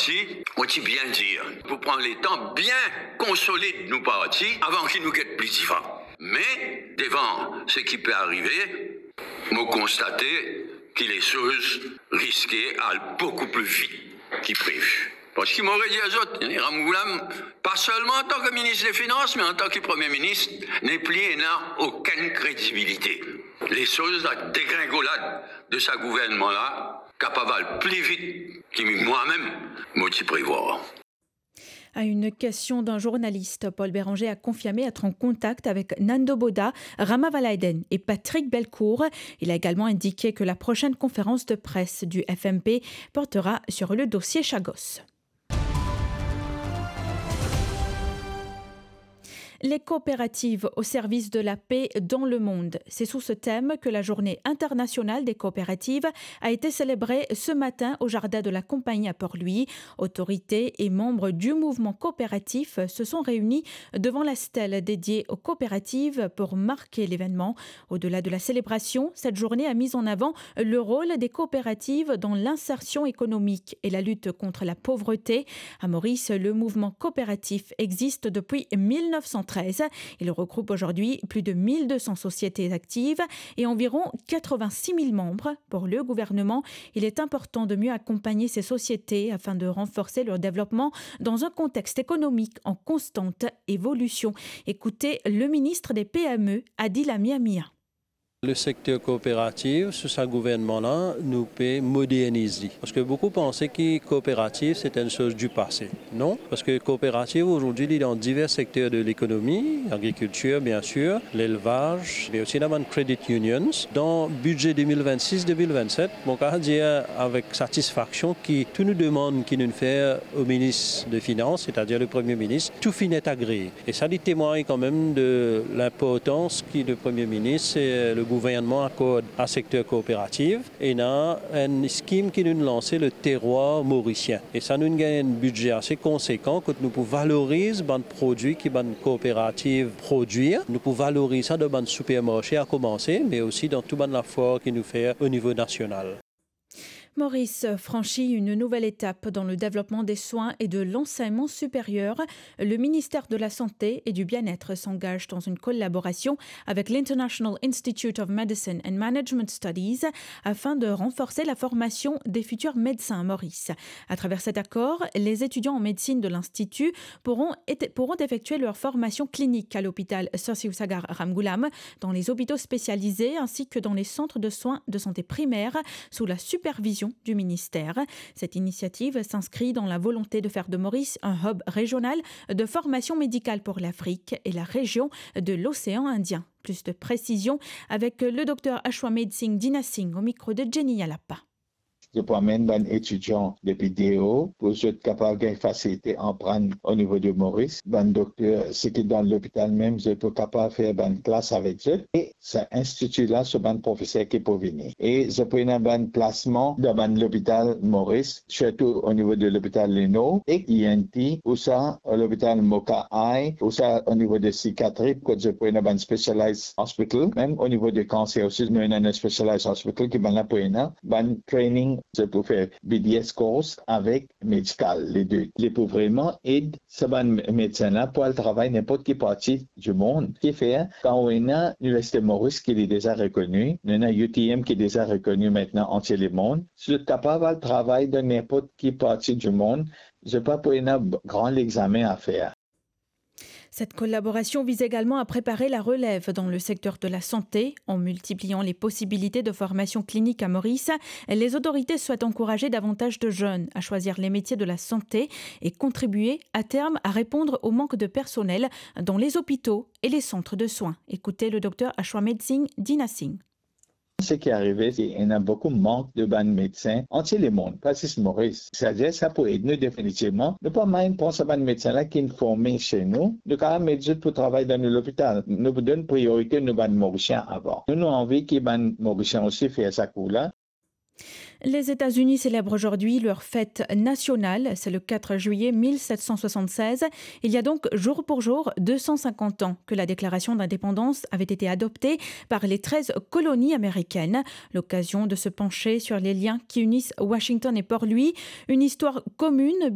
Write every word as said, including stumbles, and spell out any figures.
Li, mo ti bien dir, pou pran letan bien konsolid nou parti avan ki nou get pli divan. Me, devan seki pe arive, mo konstate ki lesoz riske al boukou pli vit ki previ. Parski mo redir zot, Ramgoolam, pa selman antan ki minis de finans, me antan ki premie minis, nepli ena okenn kredibilite. Lesoz, la degringolad de sa gouvernman la, kapav al pli vit ki mwa mem mo ti prevwar. À une question d'un journaliste, Paul Bérenger a confirmé être en contact avec Nando Boda, Rama Valaiden et Patrick Belcourt. Il a également indiqué que la prochaine conférence de presse du F M P portera sur le dossier Chagos. Les coopératives au service de la paix dans le monde. C'est sous ce thème que la Journée internationale des coopératives a été célébrée ce matin au jardin de la Compagnie à Port-Louis. Autorités et membres du mouvement coopératif se sont réunis devant la stèle dédiée aux coopératives pour marquer l'événement. Au-delà de la célébration, cette journée a mis en avant le rôle des coopératives dans l'insertion économique et la lutte contre la pauvreté. À Maurice, le mouvement coopératif existe depuis mille neuf cent treize. Il regroupe aujourd'hui plus de mille deux cents sociétés actives et environ quatre-vingt-six mille membres. Pour le gouvernement, il est important de mieux accompagner ces sociétés afin de renforcer leur développement dans un contexte économique en constante évolution. Écoutez le ministre des P M E, Adil Amir Mia. Le secteur coopératif, sous sa gouvernman la, nou pe moderniz li. Parski boukou panse ki kooperativ, se enn soz di pase. Non, parski kooperativ, azordi, li dan divers sekter de lekonomi, lagrikiltir, bien sir, lelvaz, me osi dan bann credit unions. Dan bidze de mil vennsis de mil vennset, mo kapav dir avek satisfaksion ki tou nou demann ki nou'nn fer o minis de finans, setadir le premie minis, tou finn et agree. E sa, li temwagn kanmem de linportans ki le premie minis e le gouvernman akord a sekter kooperativ. Ena enn skim ki nou'nn lanse, le Terroir Morisien. E sa, nou'nn gagn enn bidze ase konsekan kot nou pou valoriz bann prodwi ki bann kooperativ prodwir. Nou pou valoriz sa dan bann sipermarse a komanse, me osi dan tou bann lafwar ki nou fer o nivo nasional. Maurice franchit une nouvelle étape dans le développement des soins et de l'enseignement supérieur. Le ministère de la Santé et du Bien-être s'engage dans une collaboration avec l'International Institute of Medicine and Management Studies afin de renforcer la formation des futurs médecins à Maurice. À travers cet accord, les étudiants en médecine de l'Institut pourront, pourront effectuer leur formation clinique à l'hôpital Sir Sivasagar Ramgoolam, dans les hôpitaux spécialisés ainsi que dans les centres de soins de santé primaires sous la supervision du ministère. Cette initiative s'inscrit dans la volonté de faire de Maurice un hub régional de formation médicale pour l'Afrique et la région de l'océan Indien. Plus de précisions avec le docteur Ashwameghsinh Dhinasingh au micro de Jenny Yalapa. Zot pou amenn bann etidian depi deor pou zot kapav gagn fasilite aprann o nivo de Moris. Bann dokter, seki dan lopital mem, zot pou kapav fer bann klas avek zot. E sa institi la, so bann profeser ki pou vini. E zot pou ena bann plasman dan bann lopital Moris, sirtou o nivo de lopital Lenor ek E N T, ouswa lopital Moka Eye, ouswa o nivo de sikiatri, kot zot pou ena bann specialized hospital, mem o nivo de kanser osi, nou ena enn specialized hospital ki bann la pou ena bann training, zot pou fer B D S course avek medikal, le de. Li pou vreman ed sa bann medsin la pou al travay ninport ki parti dimond. Ki fer, kan ou ena Liniversite Moris ki li deza rekoni, nou ena U T M ki deza rekoni aster antie lemond, si zot kapav al travay dan ninport ki parti dimond, zot pa pou ena gran lexamen a fer. Cette collaboration vise également à préparer la relève dans le secteur de la santé. En multipliant les possibilités de formation clinique à Maurice, les autorités souhaitent encourager davantage de jeunes à choisir les métiers de la santé et contribuer à terme à répondre au manque de personnel dans les hôpitaux et les centres de soins. Écoutez le docteur Ashwameghsinh Dhinasingh. Seki arive, se ena boukou mank de bann medsin antie lemond, pa zis Moris. Setadir sa pou ed nou definitivman. Nou pa mem pran sa bann medsin la ki'nn forme se nou, nou kapav met zot pou travay dan nou lopital. Nou pou donn priorite nou bann Morisien avan. Nou, nou anvi ki bann Morisien osi fer sa kou la. Les États-Unis célèbrent aujourd'hui leur fête nationale. C'est le quatre juillet mille sept cent soixante-seize. Il y a donc jour pour jour deux cent cinquante ans que la déclaration d'indépendance avait été adoptée par les treize colonies américaines. L'occasion de se pencher sur les liens qui unissent Washington et Port-Louis, une histoire commune